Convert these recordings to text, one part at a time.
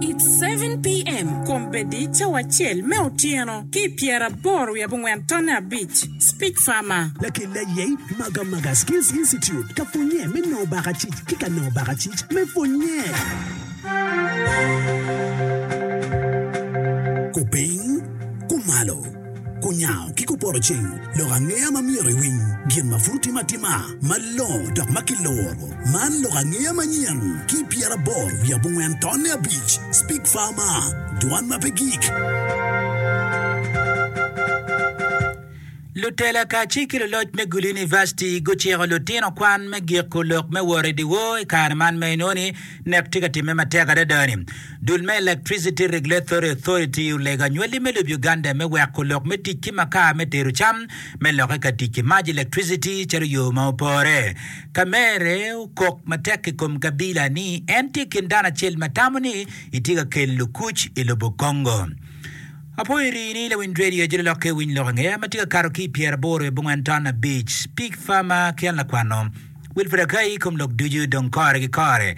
It's 7PM, Kombeddi cawa acel me otyeno ki i pyeraboro wiye abongwen tonne abic. Speak Farmer. Lakel aye Magamaga Skills Institute ka pwonye me nongo bakacic ki ka nongo bakacic me pwonye. Kupiny, kumalo, kunyango ki kupoto ceng, lok angeya ma myero iwiny, gin ma pud otime atima, malongo dok ma kiluro. Man lok angeya manyen ki 84 tonne abic Speak Farmer, dwan ma pe gik. Lutela kacel ki luloc me Gulu University guciko lutino kwan me giko lok me wot i dyewor i kare man ma inongo ni nek tye ka timme matek adada-ni. Dul me Electricity Regulatory Authority olego anywali me lobo Uganda me weko lok me tic ki makar me tedo cam me lokke ka tic ki mac electricity calo yo ma opore. Kamere okok matek i kom Kabila ni en tye i kin dano acel ma tamo ni etye ka kelo kuc i lobo Congo. Apoyo rii ni lawiny radio jolo lokke winy lok angeya ma tye ka kato ki i pyeraboro i abongwen ton abic Pig Farmer ki an lakwano Wilfred Akai i kom lok ducu dong kore ki kore.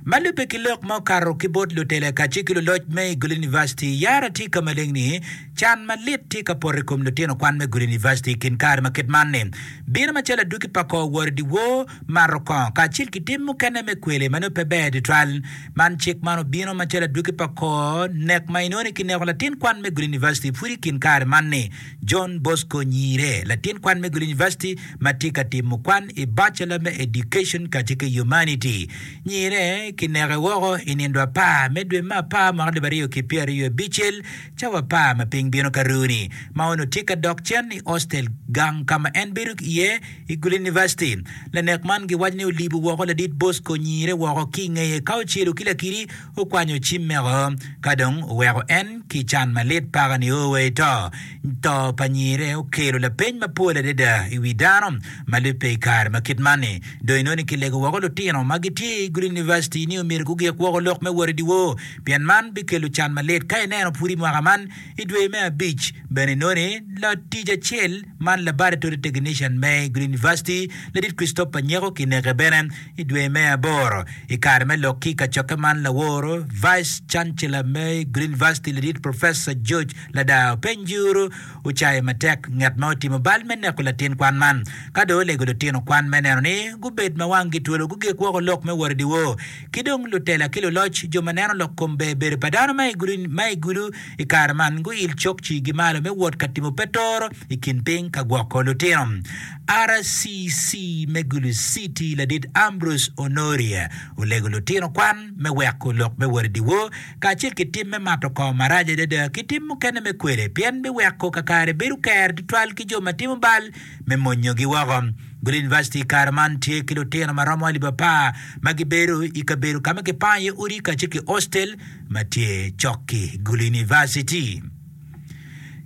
Ma lubbe ki lok ma okato ki bot lutela kacel ki luloc me i Gulu University, yara tye ka maleng ni can malit tye ka poto i kom lutino kwan me Gulu University i kin kare ma kit man ni bino macalo adwogi pa kor wot i dyewor, mato kongo kacel ki tim mukene me kwele ma nongo pe ber tutwal. Man cik man obino macalo adwogi pa kor nek ma inongo ni kineko latin kwan me Gulu University pud i kin kare man ni John Bosco Nyire, latin kwan me Gulu University ma tye ka timo kwan i Bachelor me Education kacel ki Humanity. Nyire kineke woko i nindo apar me dwe me apar mwaka alip aryo ki pyeraryo abicel cawa apar ma piny bino ka runi ma onongo tye ka dok cen i hostel gang ka ma en bedo iye i Gulu University. Lanek man giwaco ni olibo woko ladit Bosco Nyire woko ki i ngeye ka ocelo ki lakidi okwanyo cimmeko ka dong oweko en ki can malit paka nio wa i to. To pa Nyire okelo lapeny mapol adada i wi dano ma lubbe i kare ma kit man-ni. Dong inongo ni kilego woko lutino ma gitye i Gulu University ni omyero gugik woko lok me wot i dyewor pien man bikelo can malit. Ka ineno pud i mwaka man i dwe me abic bene inongo ni latic acel man Laboratory Technician me Gulu University ladit Christopher Nyeko kineke bene i dwe me aboro. I kare me lok ki i kacokke man laworo Vice Chancellor me Gulu University ladit Professor George Ladar openy juru ocayo matek ngat ma otimo bal me neko latin kwan man. Ka dong olego lutino kwan me neno ni gubed ma wanggi twolo gugik woko lok me wot i dyewor ki dong lutela ki luloc jo ma neno lok kom ber bedo pa dano ma i gulu i kare man guil cok cigi malo me wot ka timo petoro i kin piny ka gwoko lutino. RCC me Gulu City ladit Ambrose Onoria olego lutino kwan me weko lok me wot i dyewor kacel ki tim me mato kongo marac adada ki tim mukene me kwele pien biweko kakare bedo ker tutwal ki jo ma timo bal me monyogi woko. Gulu University i kare man tye ki lutino ma romo alip apar ma gibedo i kabedo ka ma kipango iye odi kacel ki hostel ma tye cok ki Gulu University.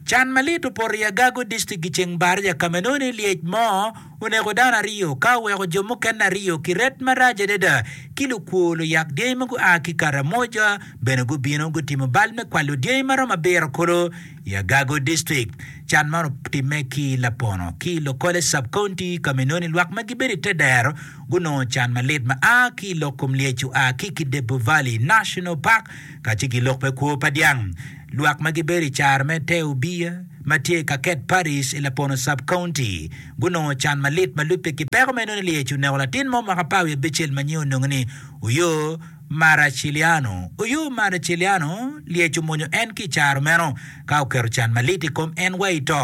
Can malit opoto i Agago District i ceng Baraja ka ma inongo ni lyec mo oneko dano aryo ka oweko jo mukene aryo ki ret marac adada ki lukwo luyak dyangi ma gua ki Karamoja bene gubino gutimo bal me kwalo dyangi maromo abiro kulu i Agago District. Can man otimme ki Lapono ki i Lokole Sub-County ka ma inongo ni lwak ma gibedo i te dero gunongo can malit ma a ki i lok kom lyec oa ki Kidepo Valley National Park kacel ki lok me kwo pa dyang. Lwak ma gibedo i caro me Te Obiya ma tye i Kaket Parish i Lapono Sub-County gunongo can malit ma lubbe ki peko ma inongo ni lyec oneko latin mo mwaka apar wiye abicel ma nyinge onongo ni Oyo Maraciliano. Oyo Maraciliano lyec omonyo en ki i caro meno ka oketo can malit i kom en wa i to.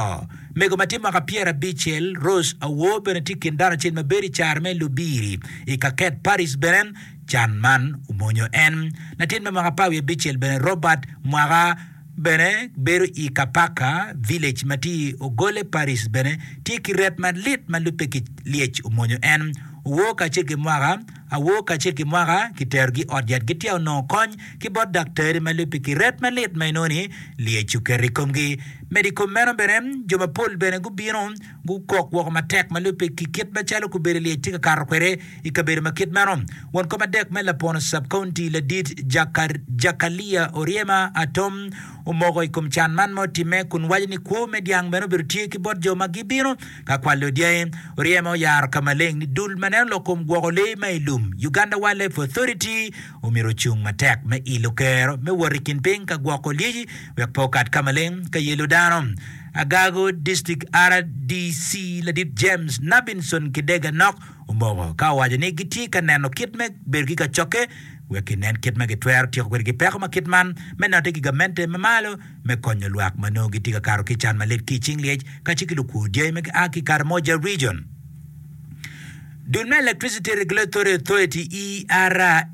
Mego ma tye mwaka pyerabicel, Rose Awor bene tye i kin dano acel ma bedo i caro me Lubiri i Kaket Parish bene. Can man omonyo en. Latin me mwaka apar wiye abicel bene Robert Mwaka bene bedo i Kapaka Village ma tye i Ogole Parish bene tye ki ret malit ma lubbe ki lyec omonyo en. Owor kacel ki Mwaka awor kacel ki Mwaka kiterogi i ot yat gitye onongo kony ki bot daktari ma lubbe ki ret malit ma inongo ni lyec oketo i komgi. Medo i kom meno bene jo mapol bene gubino gukok woko matek ma lubbe ki kit macalo gubedo lyec tye ka kato kwede I kabedo ma kit meno, won kom adek me Lapono Sub-County ladit Jakalia Oryema Atom omoko i kom can man ma otimme kun waco ni kwo me dyang bene obedo tye ki bot jo ma gibino ka kwalo dyangi. Oryema oyaro ka maleng ni dul ma neno lok kom gwoko lee ma i lum. lum, Uganda Wildlife Authority, omyero ocung matek me ilo kero me wot i kin piny ka gwoko lyeci wek pe okat ka maleng ka yelo dano. Agago District RDC ladit James Nabinson Kidega Nok omoko ka owaco ni gitye ka neno kit me bedo ki kacokke wek ginen kit ma gitwero tyeko kwede ki peko ma kit man me note ki gamente ma malo me konyo lwak ma nongo gitye ka kato ki i can malit ki i cing lyec kacel ki lukwo dyangi ma gia ki i Karamoja Region. Dul me Electricity Regulatory Authority, ERA,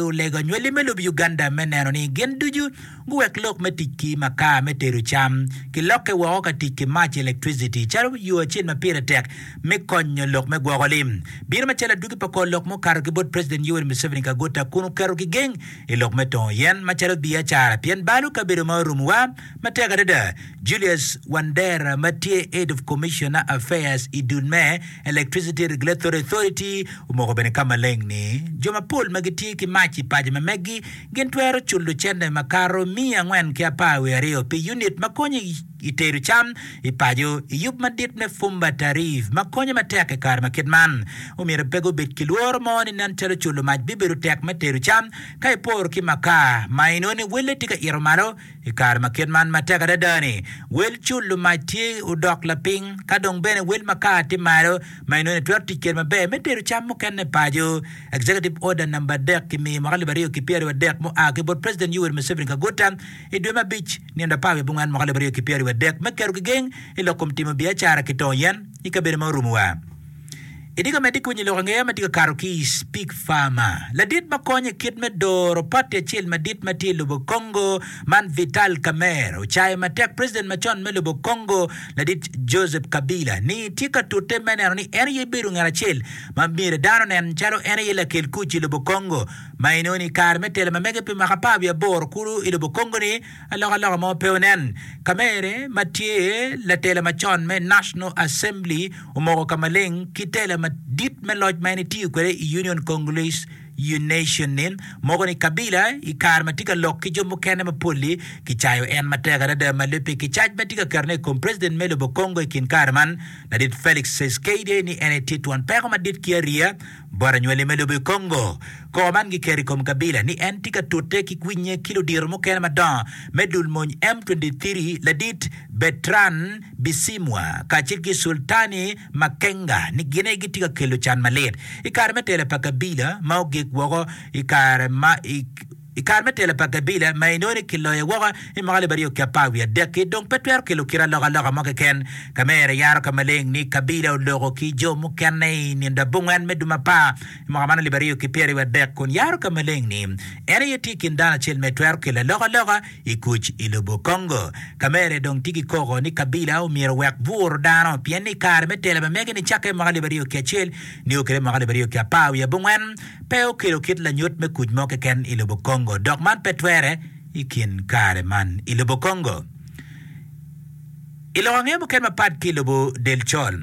olego anywali me lobo Uganda me neno ni gin ducu guwek lok me tic ki makar me tedo cam ki lokke woko ka tic ki mac electricity calo yo acel ma pire tek me konyo lok me gwoko lim. Bino macalo adwogi pa kor lok mukato ki bot President Yoweri Museveni Kaguta kun oketo kigeng i lok me tongo yen macalo biacara pien balo kabedo ma orumowa matek adada. Julius Wandera ma tye Head of Commissioner Affairs i dul me Electricity Regulatory Authority omoko bene ka maleng ni jo mapol ma gitye ki mac i paco ma meggi gin twero culo cente makato miya 412 pi unit ma konyo i tedo cam i paco i yub madit me Fumba Tariff ma konyo matek i kare ma kit man. Omyero pe gubed ki lworo mo ni nen calo culo mac bibedo tek me tedo cam ka iporo ki makar ma inongo ni welle tye ka ito malo I kare ma kit man matek adada-ni, wel culo mac tye odok lapiny, ka dong bene wel makar tye malo, ma inongo itwero tic kwede maber me tedo cam mukene paco. Executive Order namba adek kimiyo i mwaka alip aryo ki pyeraryo mua ki bot President Yoweri Museveni Kaguta i dwe me abic nino apar wiye abongwen mwaka alip aryo ki pyeraryo adek me keto gigeng i lok kom timo biacara ki tongo yen i kabedo ma orumowa. Itye ka medde ki winyo lok angeya ma tye ka kato ki i Speak Farmer. Ladit ma konyo i kit me doro pati acel madit ma tye i lobo Congo man Vital Kamerhe ocayo matek president macon me lobo Congo ladit Joseph Kabila ni tye ka tute me neno ni en aye bedo ngat acel ma myero dano onen calo en aye lakel kuc i lobo Congo ma inongo ni i kare me telo ma mege pi mwaka apar wiye aboro kulu i lobo Congo ni Alokaloka mo pe onen. Kamerhe ma tye latela macon me National Assembly omoko ka maleng ki tela madit me loc ma en etiyo kwede i Union Congolese Nation ni moko ni Kabila i kare ma tye ka lok ki jo mukene mapol-li kicayo en matek adada ma lubbe ki cac ma tye ka ketone i kom president me lobo Congo i kin kare man ladit Felix Tshisekedi ni en etye twon peko madit ki ariya Bot anywali me lobo i Congo, koko man giketo i kom Kabila ni en tye ka tute ki winye ki ludito mukene madongo me dul mony M23 ladit Bertrand Bisimwa kacel ki Sultani Makenga ni gin aye gitye ka kelo can malit i kare me tela pa Kabila ma ogik woko i kare ma I kare me telo pa Kabila ma inongo ni kiloye woko i mwaka alip aryo ki apar wiye adek-ki, dong pe twero kelo kit alokaloka mo keken. Kamere yaro ka maleng ni Kabila oloko ki jo mukene i nindo abongwen me dwe apar i mwaka man alip aryo ki pyeraryo adek kun yaro ka maleng ni en aye tye i kin dano acel ma etwero kelo alokaloka i kuc i lobo Congo. Kamere dong tye ki koko ni Kabila omyero owek buro dano pien ni i kare me telo ma mege nicakke i mwaka alip aryo ki acel nio kwede i mwaka alip aryo ki apar wiye abongwen pe okelo kit lanyut me kuc mo keken i lobo Congo dok man pe twere i kin kare man i lobo Congo. I lok ange mukene mapat ki i lobo del col,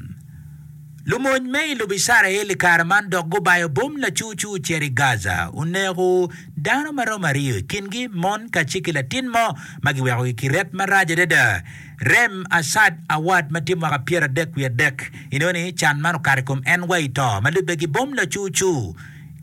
lumony me i lobo Icrael i kare man dok gubayo bom lacucu ocito i Gaza oneko dano ma romo aryo i kingi mon kacel ki latin mo ma giwekogi ki ret marac adada. Rem Assad Awad ma tye mwaka 33 inongo ni can man okato i kom en wa i to ma lubbe ki bom lacucu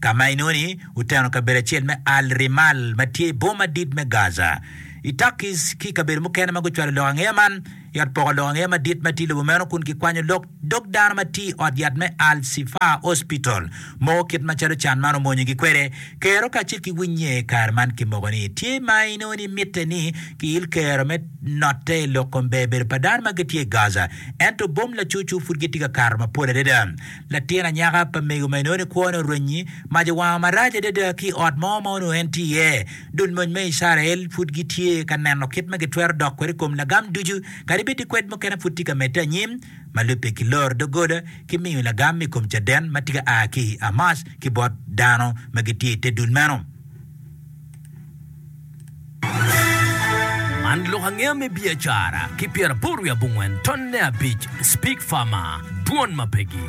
ka ma inongo ni oteno kabedo acel me Al Rimal ma tye i boma madit me Gaza. I Turkey's ki i kabedo mukene ma gucwalo lok angeya man i ot poko lok angeya madit ma tye i lobo meno kun kikwanyo lok dog dano ma tye i ot yat me Al Shifa Hospital moko kit macalo can man omonyogi kwede. Kero kacel ki winye i kare man kimoko ni tye ma inongo ni mitte ni kiil kero me notte i lok kom ber bedo pa dano ma gitye i Gaza. Ento bom lacucu pud gitye ka kato mapol adada. Latin anyaka pa mego ma inongo ni kwone orwenyi mac owango marac adada ki i ot mo ma onongo en tye iye. Dul mony me Icrael pud gitye ka neno kit ma gitwero dok kwede i kom lagam ducu, kadi bed ni kwed mukene pud tye ka medde anyim ma lubbe ki loro doggola ki miyo lagam i kom caden ma tye ka a ki i Hamas ki bot dano ma gitye i te dul meno. Man lok angeya me biacara ki pyeraboro wiye abongwen tonne abic Speak Farmer, Dwon ma pegi.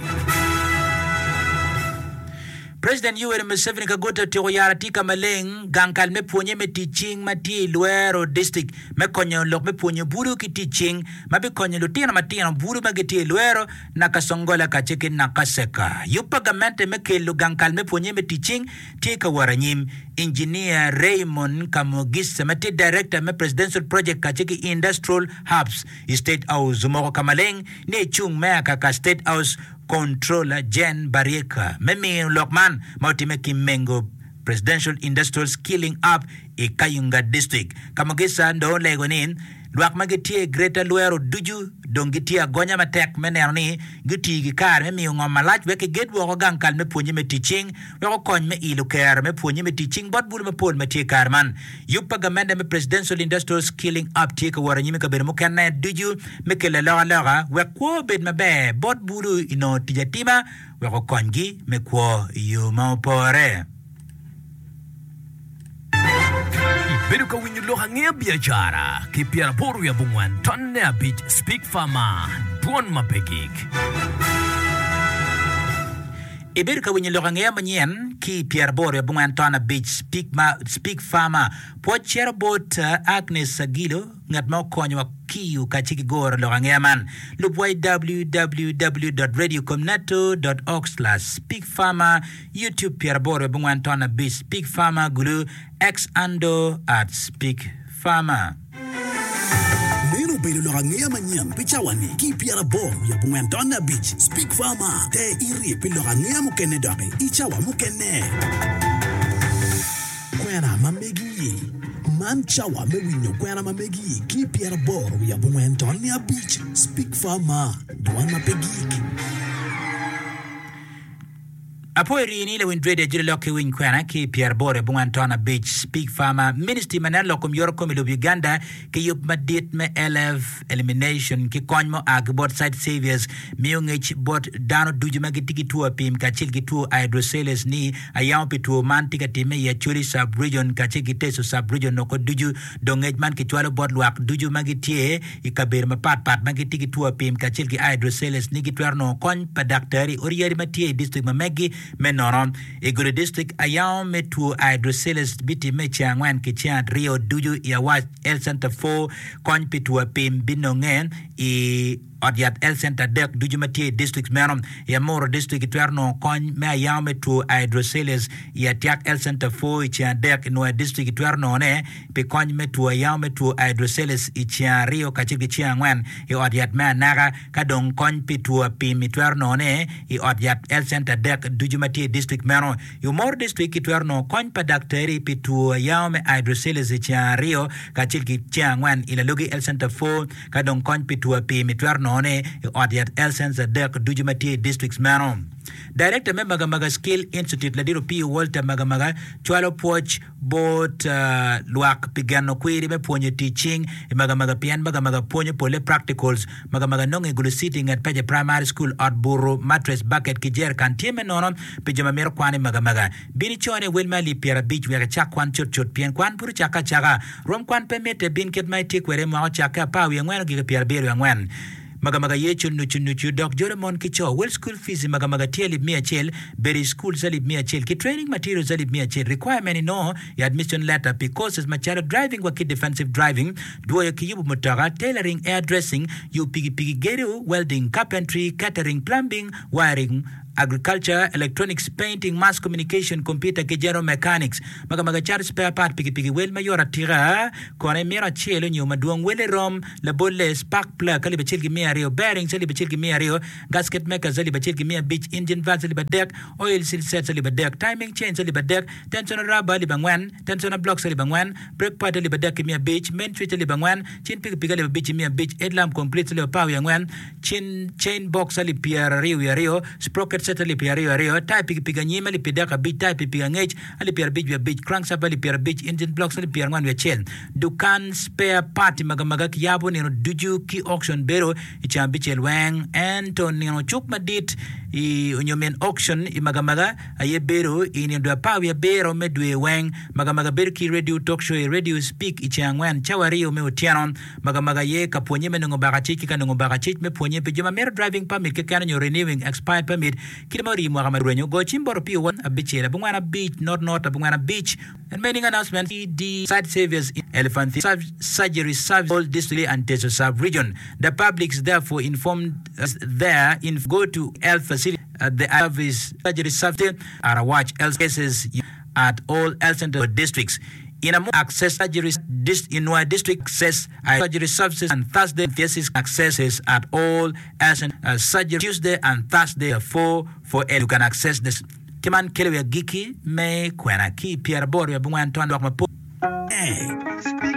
President Yoweri Museveni Kaguta otyeko yaro atika maleng gang kal me pwonye me tic cing ma tye i Luero District me konyo lok me pwonyo bulu ki tic cing ma bikonyo lutino matino bulu ma gitye i Luero, Nakasongola kacel ki Nakaseka. Yub pa gamente me kelo gang kal me pwonye me tic cing tye ka wot anyim. Engineer Raymond Kamugisa ma tye Director me Presidential Project kacel ki Industrial Hubs i State House omoko ka maleng ni ecung me akaka State House Controller Jane Barieka me miyo lok man ma otimme ki Mengo Presidential Industrial Skilling Hub i Kayunga District. Kamugisa dong olego ni lwak ma gitye i Greater Luero ducu dong gitye agonya matek me neno ni gutiyo ki kare me miyo ngom malac wek kiged woko gang kal me pwonye me tic cing wek okony me ilo kero me pwonye me tic cing bot bulu mapol ma tye i kare man. Yub pa gamente me Presidential Industrial Skilling Hub tye ka wot anyim i kabedo mukene ducu me kelo alokaloka wek kwo obed maber bot bulu i nongo tic atima wek okonygi me kwo i yo ma opore. Ibedo ka winyo lok angeya biacara ki pyeraboro wiye abongwen tonne abic Speak Farmer, Dwon ma pe gik. Ibedo ka winyo lok angeya manyen ki pyeraboro wiye abongwen ton abic Speak Farmer. Pwoc cito bot Agnes Agilo ngat ma okonyowa kiyo kacel ki goro lok angeya man. Lub wa i www dot radiocomneto dot org slash speak farmer, YouTube pyeraboro wiye abongwen ton abic Speak Farmer Gulu, X handle at Speak Farmer. Meno obedo lok angeya manyen pi cawa-ni ki i pyeraboro wiye abongwen tonne abic. Speak Farmer, Ter iti pi lok angeya mukene doki i cawa mukene. Kwena ma megi. Man cawa me winyo kwena ma megi ki i pyeraboro wiye abongwen tonne abic. Speak Farmer, Dwan ma pe gik. Apoyo rii ni lawiny radio ajoli lok ki winy kwena ki i pyeraboro abongwen ton abic Speak Farmer Ministry ma neno lok kom yoro kom i lobo Uganda ki yub madit me LF Elimination ki kony ma oa ki bot Sight Saviours miyo ngec bot dano ducu ma gitye ki two apim kacel ki two hydroceles ni ayamo pi two man tye ka timme i Acholi Sub Region kacel ki Teso Sub Region oko ducu. Dong ngec man kicwalo bot lwak ducu ma gitye i kabedo mapat pat ma gitye ki two apim kacel ki hydroceles ni gitwero nongo kony pa daktari odi yadi ma tye i distrik ma meggi me nono. I Gulu District, ayango me two hydroceles bitimme i ceng angwen ki ceng aryo ducu i Awac Health Center 4. Kony pi two apim binonge i ot yat Health Center adek ducu ma tye i district meno. I Amuru District, itwero nongo kony me ayango me two hydroceles i Atiak Health Center 4 i ceng adek. I Nwoya District, itwero nongone pi kony me two ayango me two hydroceles i ceng aryo kacel ki ceng angwen i ot yat me Anaka, ka dong kony pi two apim itwero nongone i ot yat Health Center adek ducu ma tye i distrik meno. I Omoro District kitwero nongo kony pa daktari pi two ayango me hydroceles i ceng aryo kacel ki ceng angwen i Lalogi Health Center 4, ka dong kony pi two apim itwero nongone i ot yat Health Center adek ducu ma tye i distriks meno. Director me Magamaga Skill Institute Ladit Opiyo Walter Magamaga cwalo pwoc bot lwak pi geno kwiri me pwonyo tic cing i Magamaga pien Magamaga pwonyo pole practicals. Magamaga nongo i Gulu City i nget Peja Primary School, ot buto, mattress, bucket ki jerrican tye me nono pi jo ma mito kwan i Magamaga. Bin icone wel me alip 50 wek icak kwan cutcut pien kwan pud ocakke acaka. Rwom kwan pe mitte, bin kit ma itye kwede mwaka ocakke apar wiye angwen ogik i pyerabiro wiye angwen. Magamaga Yecu nucu nucu dok jolo mon ki co. Wel school fees i Magamaga tye alip miya acel, bedo i school alip miya acel ki training materials alip miya acel. Requirement inongo i admission letter pi courses macalo driving wa ki defensive driving, dwoyo ki yubo mutoka, tailoring, hair dressing, yubo pikipiki, gedo, welding, carpentry, catering, plumbing, wiring, agriculture, electronics, painting, mass communication, computer ki general mechanics. Magamaga cato spare part pikipiki wel mayot atika kono imito acel onyo madwong wele rom Labolle, spark plug alip acel ki miya aryo, bearings alip acel ki miya aryo, gasket makers alip acel ki miya abic, engine valves alip adek, oil seal sets alip adek, timing chains alip adek, tensioner rubber alip angwen, tensioner blocks alip angwen, brake pad alip adek ki miya abic, main switch alip angwen, cin pikipiki alip abic ki miya abic, headlamp completes alip apar wiye angwen, cin chain box alip pyeraryo wiye aryo, sprocket set alip pyeraryo aryo, taya pikipiki anyim alip pyedek abic, taya pikipiki angec alip pyerabic wiye abic, crankshaft alip pyerabic, engine blocks alip pyerangwen wiye acel. Dukan spare part magamaga kiyabo nino ducu ki auction bedo i ceng abicel weng ento nino cuk madit i onyo min auction i magamaga aye bedo i nino dwe apar wiye abiro me dwe weng. Magamaga bedo ki radio talk show i radio speak i ceng angwen cawa aryo me otyeno. Magamaga aye ka pwonye me nongo bakacic ki ka nongo bakacic me pwonye pi jo ma mito driving permit keken onyo renewing expired permit. Kite ma orii mwaka ma rwenyo, go cim bot Opio wa abicel abongwen abic not not abongwen abic. And meaning announcement ED Site Saviors in Elephant Surgery Service all District and Teso Sub Region. The public is therefore informed there in go to health facility the service surgery service Arawac health cases at all health center districts in a access surgery in Nwoya district access surgery services and Thursday thesis accesses at all health center surgery Tuesday and Thursday 4 for you can access the Ki man kelo i agikki me kwena ki i pyeraboro wiye abongwen ton lwak mapol.